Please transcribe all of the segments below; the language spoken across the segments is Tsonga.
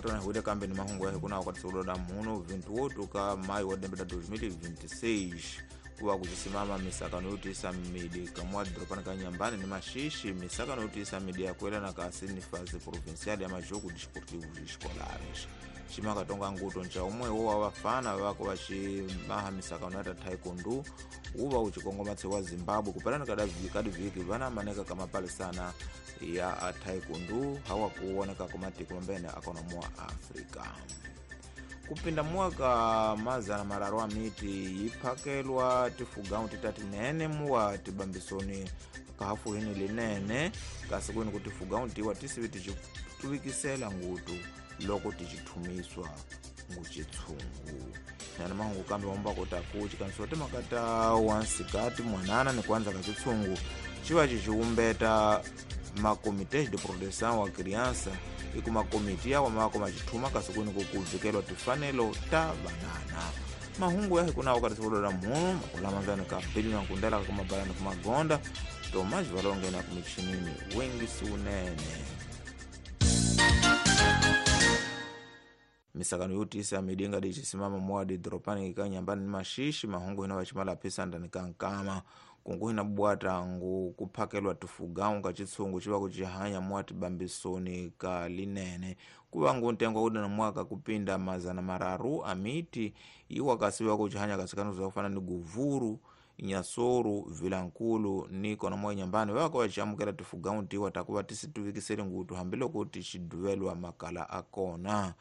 Ngutona hwile kambe ni mahungu ya hikuna wakati soloda muno 28 ka maio wa dembe da 2026 kuwa kuchisimama misakano yotisa midi kamwa dropana ka Nyambani ni Maxixe misakano yotisa midi ya kwela na kasi ni fase provincial ya majogo desportivos escolares. Chimaka tonga nguto ncha umwe wo vafana vako vachimaha misakano ya taekwondo uva uchikongomatse wa Zimbabwe kupelana kadiviki vana maneka kamapalisana ya taekwondo hawa kuoneka kumatiko mambene akonomoa Afrika. Kupinda mwaka mazana mararu a miti iphakelwa tifugau titati nene muwa tibambisoni kahafuhini linene kasi kwini ku tifugau tiwa tisivi tichituvikisela ngutu loko tichithumiswa nguchitshungu. Nana mahungu kambe wamba kutaku chikanisiwa timakata wansikati mwanana ni kuanza kachitshungu chiva chichiumbeta makomités de proteção wa criança e kuma komiti yawa mako machithuma kasi kwini kukuvikelwa tifanelo ta banana. Mahungu yahi kunawo kati sikulola muno makulamanzani ka bili na nkundela kakumabalani kumagonda Tomás Valongena kumichinini wengi siunene. Misakano yotisa midinga dichisimama mwadi dropani ka Nyambani ni Maxixe mahungu hina vachimala phisa ndani ka nkama kungu hina bwata ngu kuphakelwa tifugau ka chitsungu chiva kuchihanya mwati bambisoni ka linene kuva ngu ntengo uda na mwaka kupinda mazana mararu amiti iwa kasiwa kuchihanya kasikano kufana ni Guvuru Inhassoro Vilankulu ni kona mwa Nyambani vako vachamukela tifugau tiwa takuva tisituvikisele ngutu hambiloko tichiduvelwa makala akona.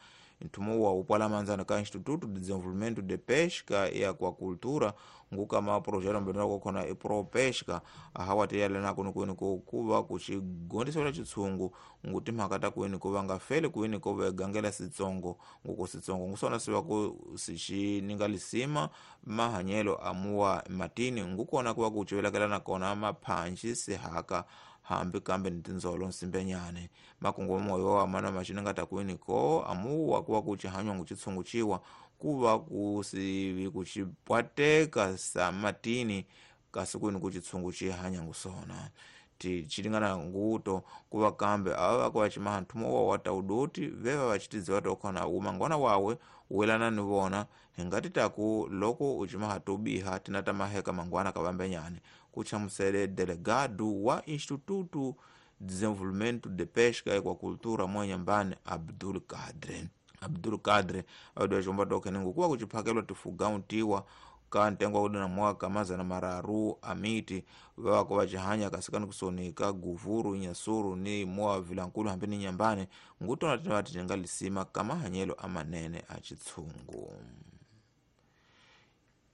Nthumo wa upwala manzana ka Instituto de Desenvolvimento de Pesca e Aquacultura nguka ma projeto mbendera kokhona e Pro Pesca ahawa tiyalena kuno kwini ko kuva kuchigondisela chitsungu nguti mhaka ta kwini ko vanga fele kwini ko vegangela sitsongo nguko sitsongo ngusona siva ku sichininga lisima mahanyelo amuwa matini ngukona kuva kuchivelakelana kona maphanji sihaka hambi kambe ni tindzolo nsimbenyane makungu moyo wa mana machinanga takwini ko amuwa kuwa kuchihanywa nguchitsungu chiwa kuva kusivi kuchipwateka sa matini kasi kwini kuchitsungu chihanya ngusona tichilingana nguto kuva kambe ava kuva chimaha nthumo wa wataudoti veva vachitidziwa tokhona umangwana wawe welana ni vona hingati taku loko uchimaha tobiha tina tamaheka mangwana kavambenyane kuchamusele delegado wa Instituto Desenvolvimento de Pesca e Aquacultura mwa Nyambani Abdul Kadre. Abdul Kadre awadiwa chomba tokhene ngukuwa kuchiphakelwa tifugau tiwa ka ntengo wa na mwaka mazana mararu amiti vako vachihanya kasikani kusonika Guvuru Inhassoro ni mwa Vilankulu hambi ni Nyambani ngutona tina tinga lisima kamahanyelo amanene a chitsungu.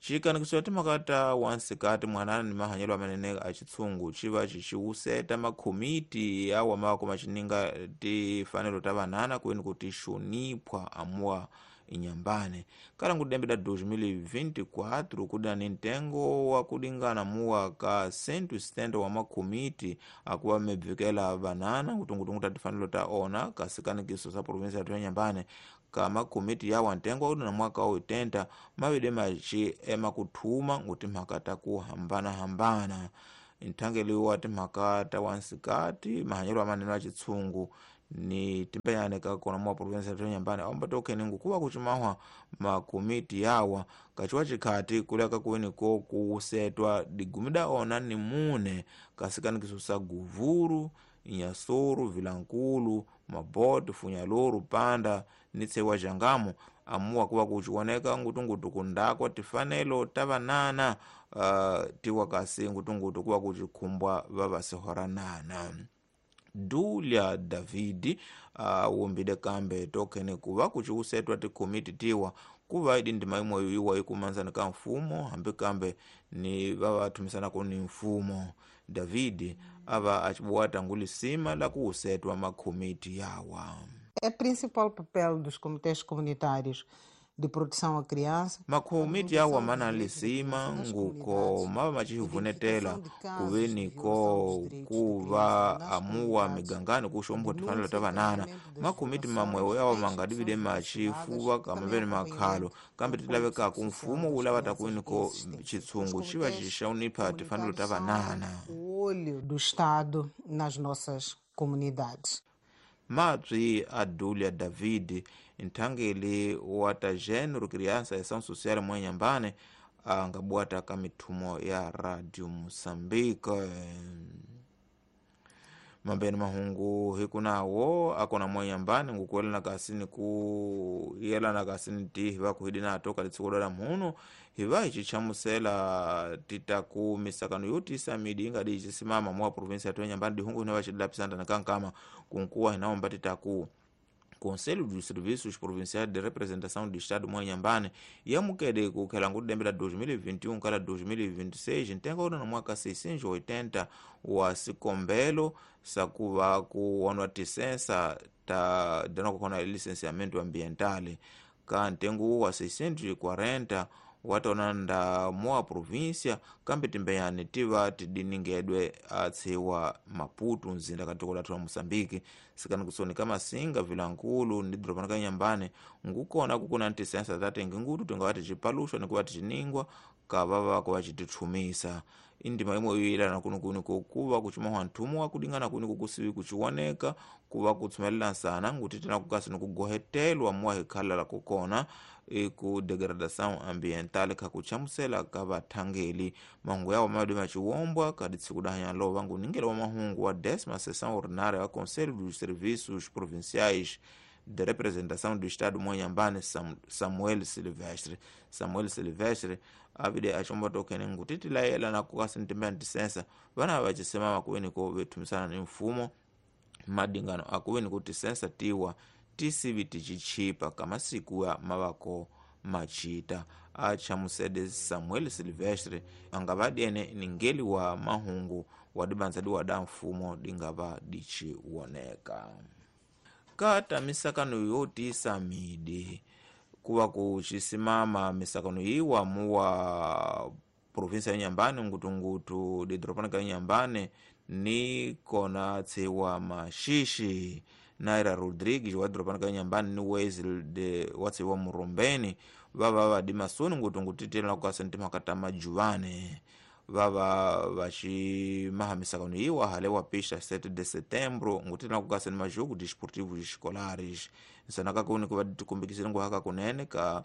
Chikanikiso timakata wansikati mwanana ni mahanyelo amanene a chitsungu chiva chichiuseta makomiti awa mako machininga tifanelo ta vanana kwini kuti xoniphwa amuwa Inyambane kala ngudembe da 2024 kuda ni ntengo wa kulingana muwa ka 170 wa makomiti akuwa mebvikela vanana kutungutungu ta tifanelo ta ona kasikanikiso sa provinsia ya Nyambane ka makomiti yawa ntengo wa na mwaka wa 80 mavide machi emakuthuma nguti mhaka ta kuhambana hambana nthangeli wa timhaka ta wansikati mahanyelo amanene a chitsungu ni timpenyane ka kona mwa provinsia ya Nyambani aomba tokhene ngukuva kuchimahwa makomiti yawa kachiwa chikhati kuleka kuweni ko kusetwa digumida ona ni mune kasikanikiso sa Guvuru Inhassoro Vilankulu Mabote Funyaloro Panda ni tsewa Jangamo amuwa kuva kuchioneka ngutungutu kundakwa tifanelo ta vanana tiwa kasi ngutungutu kuva kuchikhumbwa vavasihoranana. Dulia Davidi wumbide kambe tokhene kuva kuchiusetwa tikomiti tiwa kuva idi ndima imwe iwa ikumanzana ka mfumo hambi kambe ni vavathumisanako ni mfumo. Davidi ava achibuwata ngulisima la kuusetwa makomiti yawa. É principal papel dos comitês comunitários de proteção à criança. Makomiti yawa mana lisima nguko mava machivunetela kuveni ko kuva amuwa migangani kuxombwa tifanelo ta vanana. Makomiti mamwewo yawa mangadivide machifuva kamaveni makhalo kambe tilavekaku mfumo wu lava takwini ko chitsungu xiva xixaunipha tifanelo ta vanana. O olho do Estado nas nossas comunidades. Mabyi Adulia David nthangeli wa ta gênero, criança e ação social mwa Inhambane angabwata ka mithumo ya Radio Moçambique. Mambeni mahungu hikunawo akona mwa Inhambane ngukuelana kasini ku yelana kasini ti hiva kuhidi nato kalitsiko la mhuno hiva hichichamusela titaku misakano yotisa midi ingadi ichisimama mwa província ya Inhambane dihungu hina vachidilapisa kankama kunkuwa hinaomba titaku Conselho dos Serviços Provinciais de Representação do Estado mwa Inhambane yamukede kukhela ngudembela 2021 kala 2026 ntenga una na mwaka 680 wa sikombelo sakuva kuonwa tisensa ta dana kukona licenciamento ambiental ka ntengo wa 640 watonanda moa província kambe timbeyani tiva tidiningedwe atsiwa Maputo mzinda katiko lathu la Moçambique sikani kusoni kamasinga vilankulu ndi doropa ka Inhambane ngukona kukuna ntisensa tatenge ngutu tingava ticipaluxwa nikuva ticiningwa kavava kuva citithumisa indima imwe yoyelana kunukuni kokuva kucimawa nthumu wakudingana kuni kukusivi kuciwoneka kuva kutsumelela nsana ngutitena kukasi nikugohetelwa muwa hikhala kukona iku degradação ambiental khakuchamusela ka vathangeli mahungu yawo madi maciwombwa kadi tsiku dahanya lova nguningela wa mahungu wa 10ª sessão ordinária wa Conselho dos Serviços Provinciais de Representação do Estado mwa Inhambane Samuel Silvestre. Samuel Silvestre avide acomba tokene ngutitilayela na kukasi ntimba ntisensa vana vacisemama kuveniko vethumisana ni mfumo madingano akuveniko tisensa tiwa tisivi ticichipa kamasiku ya mavako machita achamusede Samuel Silvestre angavadiene ningeli wa mahungu wadibanza diwada mfumo dingava diciwoneka kata misakano yotisa midi kuva kucisimama misakano iwa muwa província ya Inhambane ngutungutu didoropa ka Inhambane ni kona tsiwa Maxixi Naira Rodrigues wa doropa ka Inhambane ni Wesley de watsiwa Murumbeni vava vadimasoni ngutungutu titela kukasa ntimaka ta majuvane vava vacimaha misakano iwa hale wa pista 7 de setembro ngutitela kukasa ni majogo desportivos escolares nsanaka kuni kuva tikumbikisile nguhaka kunene ka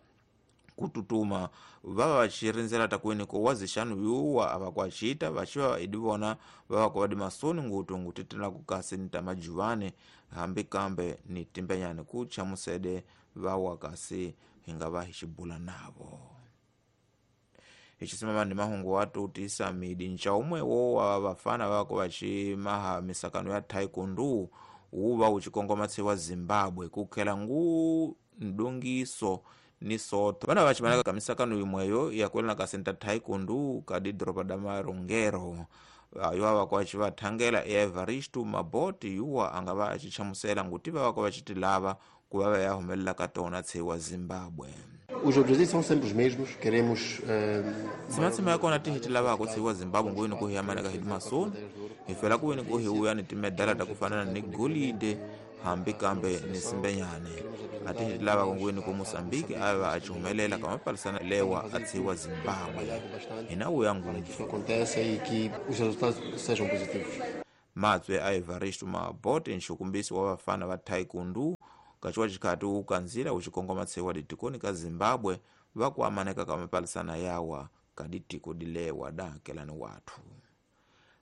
kututuma vava vacirindzela takueneko wazixanu yuwa avakuacita vaciva idivona vava kuvadi masoni ngutu ngutitela kukasi ni tamajuvane hambi kambe ni timbenyane kuchamusede vawa kasi hingava hicibula navo icisimama ndi mahungu watu tisa midi ncaumwe wo wa vafana vako vacimaha misakano ya taekwondo wuva ucikongoma tsiwa Zimbabwe kukhela ngu ndongiso ni soto vana vacimanaka kamisakano imweyo yakuelana kasenta taekwondo kadi doropa da Marongero ayo avako acivathangela Evaristo Maboti yuwa angava acichamusela nguti vavako vacitilava kuva vayahumelela ka tona tsiwa Zimbabwe. Os objetivos são sempre os mesmos, queremos Simatsima yakona tihitilavako tsiwa Zimbabwe nguweni kuhiyamanaka hidi masoni hifela kuweni kuhiuya ni timedala takufanana ni golide hambi kambe ni simbenyane atihitilavako nguweni ku Moçambique ava acihumelela kamapalisana lewa atsiwa Zimbabwe hinauya ngupfu aconteça e que os resultados sejam positivos. Matswe a Evaristo Mabote nxukumbisi wa vafana va taekwondo kaciwa cikhati ukanzila ucikongoma tsiwa ditikoni ka Zimbabwe vakuamaneka ka mapalisana yawa kaditiko dilewa dakelani wathu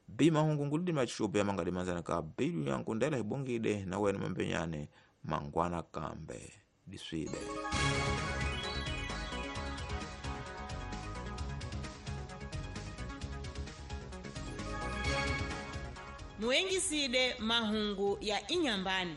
b mahungu ngulidi maciupi ya mangadimanzana ka bilu yankundela hibongide na wena mambenyane mangwana kambe diswide. Muengiside mahungu ya Inhambane.